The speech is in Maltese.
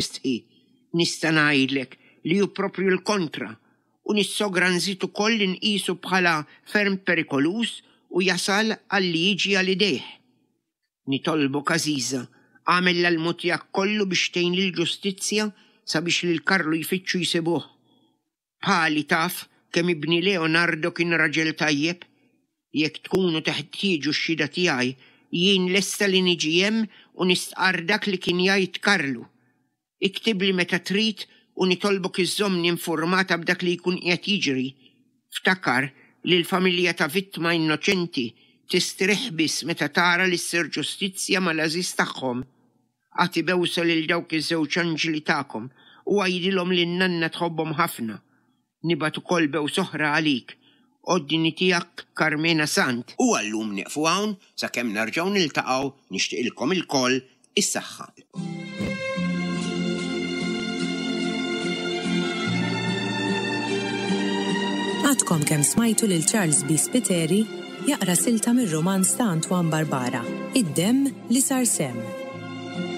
Tistħi, nista' ngħidlek li hu proprju l-kontra u nissogra nżid ukoll li nqisu bħala ferm perikoluż u jasal għal li jiġi għal idejh. Nitolbok għażiża, agħmel l-almu tiegħek kollu biex tgħin lill-ġustizzja sabiex lil Karlu jfittxu jsibuh. Bħali taf kemm ibni Leonardo kien raġel tajjeb. Jekk tkunu teħtieġu x-xhieda tiegħi, jien lesta li niġi hemm u nistqarr dak li kien jgħid Karlu. Iktibli meta trid u nitolbok iżżommni infurmata b'dak li jkun qiegħed jiġri. Ftakar li l-familja ta' vittma innoċenti tistrieħ biss meta tara li ssir ġustizzja mal-għażiż tagħhom. Agħti bewsa lil dawk iż-żewġ anġli tagħkom u għidilhom li n-nanna tħobbhom ħafna. Nibgħat ukoll bews oħra għalik. Ordni tiegħek Karmena Sant. U għal-lum nieqfu hawn sakemm nerġgħu niltaqgħu nixtieqilkom ilkoll is-saħħa. Għadkom kemm smajtu lil Charles B. Spiteri jaqra silta mir-rumanz ta' Antoine Barbara, Id-Demm li Sar Semm.